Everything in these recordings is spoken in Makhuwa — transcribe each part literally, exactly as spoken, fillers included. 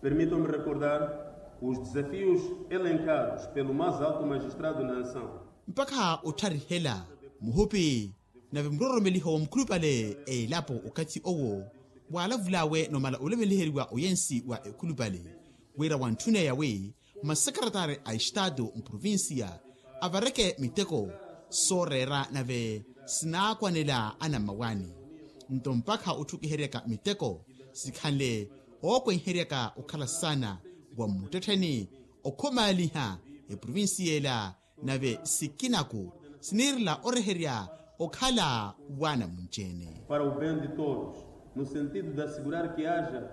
Permitam-me recordar os desafios elencados pelo mais alto magistrado da nação. Mpakha ottharihela muhupi nave muroromeliho wa mukhulupale a elapo okathi owo waalavul'awe nomala olemeliheryiwa oyensi wa ekhulupale wira wantthun'eya wi masekretari a estaatu mprovincia avareke miteko sooreera nave sinaakwanela anammawaani. Nto mpakha otthukiheryaka miteko sikhanle ookwenheryaka okhala saana wa mmuttettheni okhumaaliha eprovincia ela nave sikinaku siniirela oreherya okhala waana munci-ene. Para o bem de todos, no sentido de assegurar que haja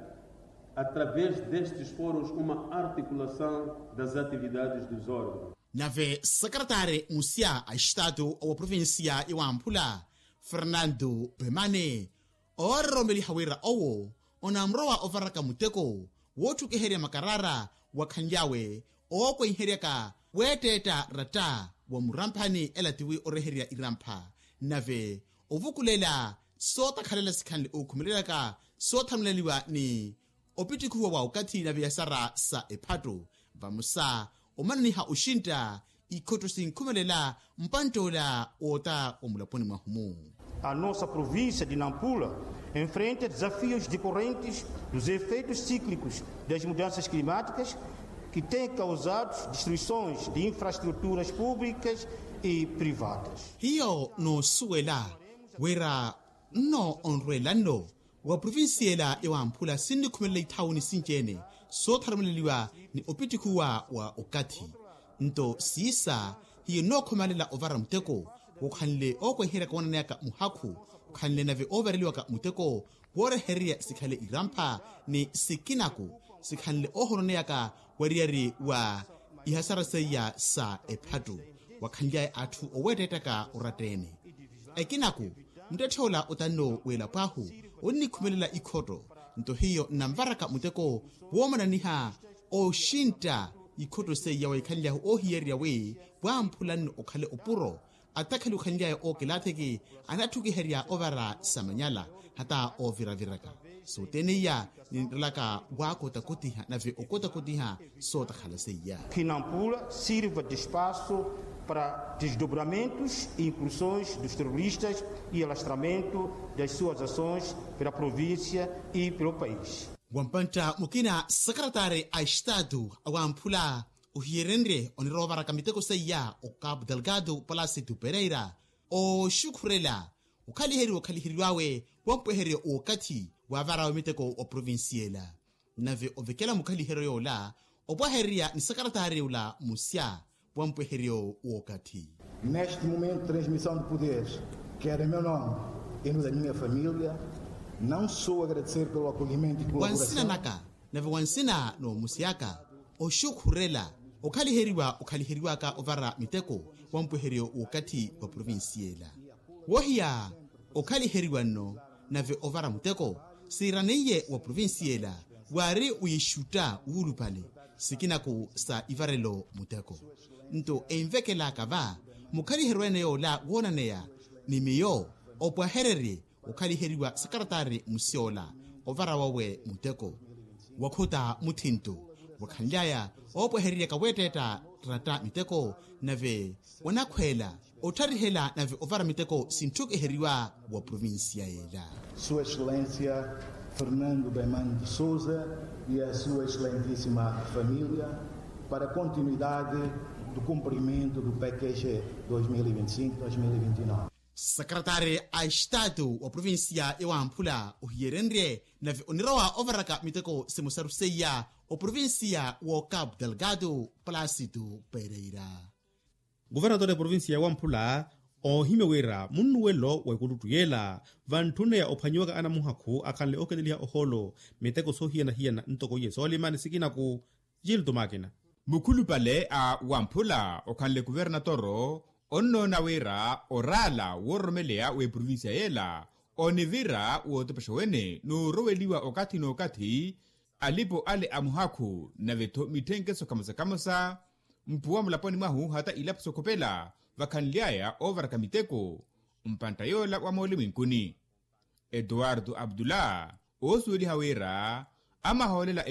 através destes foros uma articulação das atividades dos órgãos. Nave sakaratari musia a estaatu owa provincia ya wamphula fernando pemane oororomeliha wira owo onamurowa ovaraka muteko wootthukiherya makarara wakhanly'awe ookwenheryaka weetteetta ratta wa muramphani ela tiwi oreherya irampha nave ovukulela sootakhalela sikhanle ookhumelelaka sootharumuleliwa ni opittikhuwa wa okathi nave yasara sa ephattu vamosa omananiha oxintta ikhotto sinkhumelela mpantt'ola woota omulaponi mwahu-mu. A nossa província de nampula enfrenta desafios decorrentes dos efeitos cíclicos das mudanças climáticas que têm causado destruições de infraestruturas públicas e privadas. Hiyo noosuwela wira nno onrweela nno wa provincia ela ya wamphula sinnikhumelela ithawuni sinci-ene sootharumuleliwa ni opittikhuwa wa okathi. Nto siisa hiyo nnookhumalela ovara muteko wookhanle ookwenheryaka woonaneyaka muhakhu okhanle nave oovareliwaka muteko woorehererya sikhale irampha ni sikinaku sikhanle oohononeyaka wariyari wa ihasara seiya sa ephattu wakhanly'aya atthu oweetteettaka oratta-ene. Ekinaku muttetthe-ola otanno w'elapo ahu onnikhumelela ikhotto nto hiyo nnanvaraka muteko woomananiha oxintta ikhotto seiya waikhanly'ahu oohiyererya wi wamphula nno okhale opuro attakhali okhanly'aya ookelathiki anatthukiherya ovara samanyala hata ooviraviraka sooteniya ninrelaka waakotakotiha nave okotakotiha sootakhala seiya. Que nampula sirva de espaço para desdobramentos e incursões dos terroristas e alastramento das suas ações pela província e pelo país. Wampantta mukina sakaratari a estaatu awamphula ohiyerenrye onirowa ovaraka miteko seiya okapu delgado palasi tupereira ooxukhurela okhaliheriwa okhaliheriw'awe wampwehereryo w'okathi waavarawe miteko wa provincia ela nave ovekela mukhaliheryo yoola opwahererya ni sakaratari ola musya wampwehereryo w'okathi. Neste momento de transmissão de poderes quero em meu nome e no da minha família não só agradecer pelo acolhimento e colaboração. Wa nsina naka nave wa nsina n'omusyaka oxukhurela okhaliheriwa okhaliheriwaka ovara miteko wampwehereryo w'okathi wa provincia ela wohiya okhaliheriwa nno nave ovara muteko siiraneiye wa provincia ela waari wixutta wuulupale sikinaku sa ivarelo muteko nto envekelaka va mukhaliheryo ene yoola woonaneya ni miyo opwahererye okhaliheriwa sakaratari musyola ovara wawe muteko wakhuta muthinto wakhanly'aya oopwehereryaka weetteetta ratta miteko nave onakhweela otharihela nave ovara miteko sintthukiheriwa wa provincia ela. Sua excelência fernando bemani de sousa e a sua excelentíssima família para a continuidade do cumprimento do pkg dois mil e vinte e cinco dois mil e vinte e nove. Sakaratari a estatu wa provincia ya wamphula ohiyerenrye nave onirowa ovaraka miteko simosaru seiya oprovincia w'okapu delgado palasitu pereira. Guvernatori a provincia ya wamphula oohimya wira munnuwelo wa ekuluttu yeela vantthunneya ophwanyiwaka anamuhakhu akhanle ooketeliha ohoolo miteko soohiyana-hiyana ntoko iye soolima ni sikinaku. Gilto makina. Mukhulupale a wamphula okhanle kuvernatoro onnoona wira oraala woororomeleya w'eprovincia yeela onivira wootepexa wene nooroweliwa okathi n'okathi alipo ale a muhakhu nave-tho mitthenkeso kamosa-kamosa mpuwa mulaponi mwahu hata ilapo sokhopela vakhanly'aya oovaraka miteko mpantta yoola wa mooliminkuni. Etuwartu abdullah oosuweliha wira amahoolela